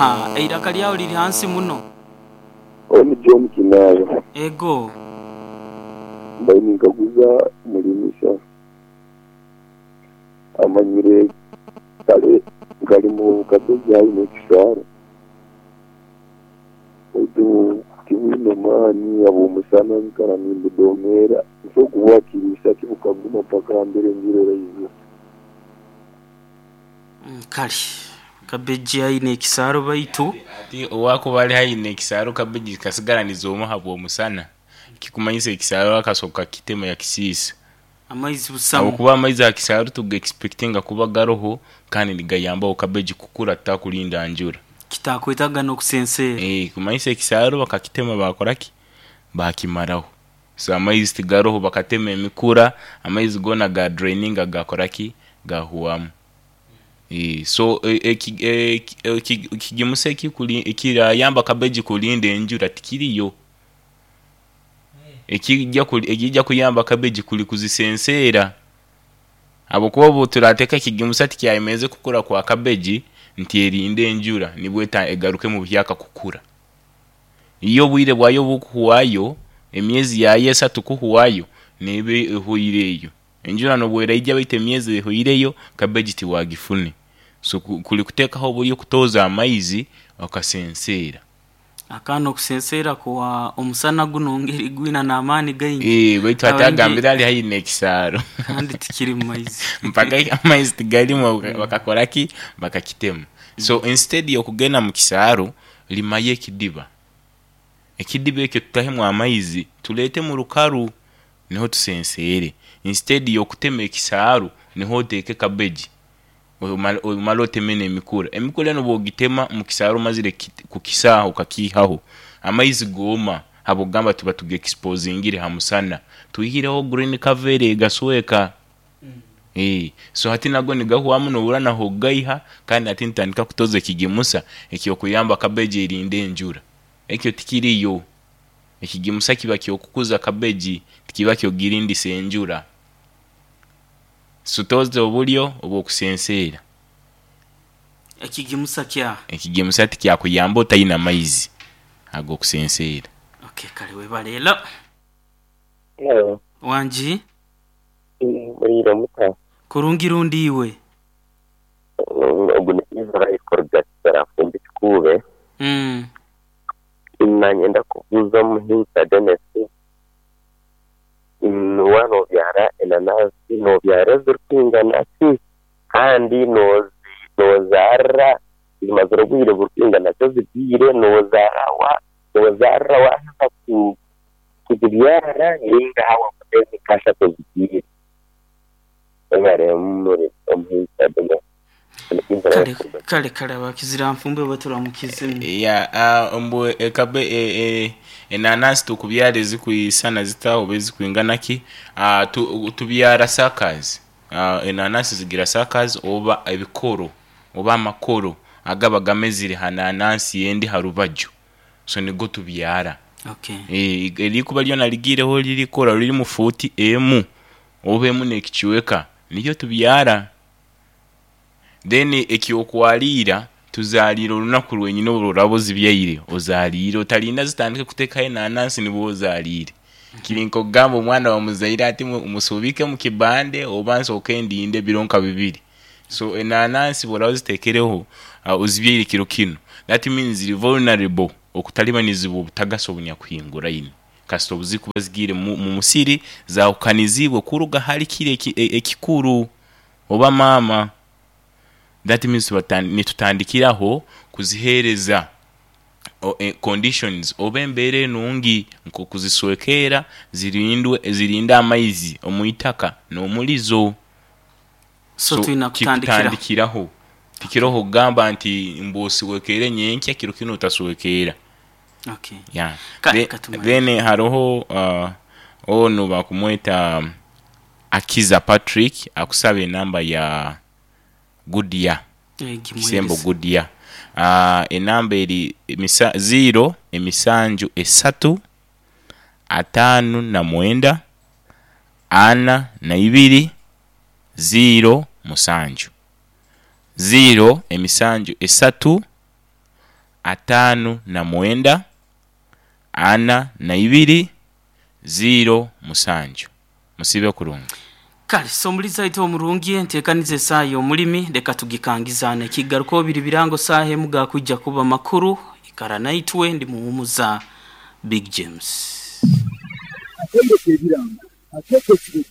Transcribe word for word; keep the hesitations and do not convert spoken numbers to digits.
Aha, eiraka lyawe liri hansi muno. Oni John Kinayo. Ego. Mbaire ninkaguza mulimisa. Amanyire kale nkalimu kabeji aine ekisaaru. Baitu tibwine maani habw'omusana nkara nimbudomeera. Nso kubwakiriisa tibukaguma mpaka mbere enjura eraizira. Mm, kale kabeji aine ekisaaru baitu Ati owakuba ali haihi n'ekisaaru, kabeji kasigara nizooma habw'omusana, kikumanyisa ekisaaru akasoka kitema yakisiisa. Amaizi busamu. Habwokuba amaizi aha kisaaru tuga expectinga kuba garoho kandi nigayambaho kabeji kukura tutakulinda njura. Kitakwetaga n'okusenseera. Eh, kumanyisa ekisaaru bakakitema, bakoraki, bakimaraho. So amaizi tigaroho, bakatema emikura, amaizi goona ga draininga, gakoraki, gahwamu. Eh, so ekigimusa ekirayamba kabeji kulinda enjura tikiriyo. Ekijja ekijja kuyamba kabeji kuli kuzisenseera, habwokuba obu turateeka ekigimusa tikyayemeze kukura kwa kabeji nti erinde enjura nibwo egaruke mu buhyaka kukura. Iyo obwire bwayo bukuhwayo, emyezi yayo esatu kuhwayo, neeba ehwireyo. Enjura nobu eraija, baitu emyezi ehwireyo, kabeji tiwagifune. So kuli kuteekaho oburyo kutooza amaizi okasenseera. Akaana okusenseera kuwa omusana guno ngeri gwina n'amaani gaingi. Eh, baitu hati agambire ali haihi n'ekisaaru. Kandi tikiri mu maizi. Mpaka amaizi tigarimu, bakakoraki, bakakitema. So instead y'okugenda mu kisaaru, limayo ekidiba. Ekidiba ekyo tutahemu amaizi, tuleete mu rukaru niho tusenseere. Instead y'okutema ekisaaru niho oteeke kabeji, omale oteme n'emikura. Emikura enu obu ogitema mu kisaaru omazire kukisaaha okakiihaho, amaizi gooma habw'okugamba tuba tuga exposingire ha musana, twihireho green cover egasweka. So hati nago nigahwamu, nobura nah'okugaiha. Kandi hati nitutandika kutoza ekigimusa eky'okuyamba kabeji erinde enjura. Ekyo tikiriyo. Ekigimusa kiba ky'okukuza kabeji, tikiba ky'okugirindisa enjura. So toza oburyo obw'okusenseera. Ekigimusa kya Ekigimusa tikyakuyamba otaine amaizi ag'okusenseera. Okay, kale webale. Hello. Hello. Wangi. Muriire muta? Kurungi rundi, iwe? Ogu ni Israel kuruga Kitarafumbi Kikuube. Mm. Nanyenda kubuuza omuhinsa Dennis, waaba obyara enanansi nobyara ezirikwingana ki, kandi nozaarira zimazire obwire burikwingana ki ozibyaire, nozaara nozaarira waaheza kuzibyara ninga wamara emyezi nk'ashatu ozibyaire? Omuhinsa Dennis. Kale kale kale, abakizira nfumbe baturamukize. Ya, uh, mbu ekabe e, e, enanasi tukubyara ezikwisana zita oba ezikwingana ki? uh, tu, tubyara suckers. uh, enanasi zigira suckers oba ebikoro oba amakoro agaba gamezire ha nanansi endi ha rubaju, so nigo tubyara. Okay. E, erikuba lyona ligiireho lirikora riri mu fuuti emu oba emu n'ekicweka, niryo tubyara. Then ekyokwaliira, tuzaaliire olunaku rwenyini obu oraba ozibyaire, ozaaliire. Otalinda zitandike kuteekaho enanansi nibwo ozaaliire. Kiri nk'okugamba omwana wamuzaire ati musuubike mu kibande oba nsooke ndinde ebiro nka bibiri. So enanansi bw'oraba oziteekereho, uh, ozibyaire kiro kinu, that means ziri vulnerable okutalibanizibwa obutagasi obunyakuhinguraine, kasita obu zikuba zigiire mu musiri zahukanizibwe kuruga hali kiri ekikuru oba maama. That means nitutandikiraho kuziheereza conditions oba embeera enungi, nk'okuziswekeera zirindwe, zirinde amaizi omu itaka n'omulizo. So tulina kutandikira kikutandikiraho, tikiroho kugamba nti mbu oswekeere nyenkya, kiro kinu otaswekeera. Okay. Yeah. Kale katumale. Then haroho uh, onu bakumweta Akiza Patrick, akusaba enamba ya Goodyear. Kisembo Goodyear. uh, enamba eri emisa, ziro emisanju esatu ataano na mwenda ana na ibiri ziro musanju, ziro emisanju esatu. ataano na mwenda ana na ibiri ziro musanju. Musibe kurungi. Kale somuliza ito omurungi, enteekaniza esaaha y'omulimi leka tugikangizane. Kigaruko biri birango saaha emu gakwijja kuba makuru. Ikara naitwe, ndi muhumuza Big James. Akende kebirango akeke.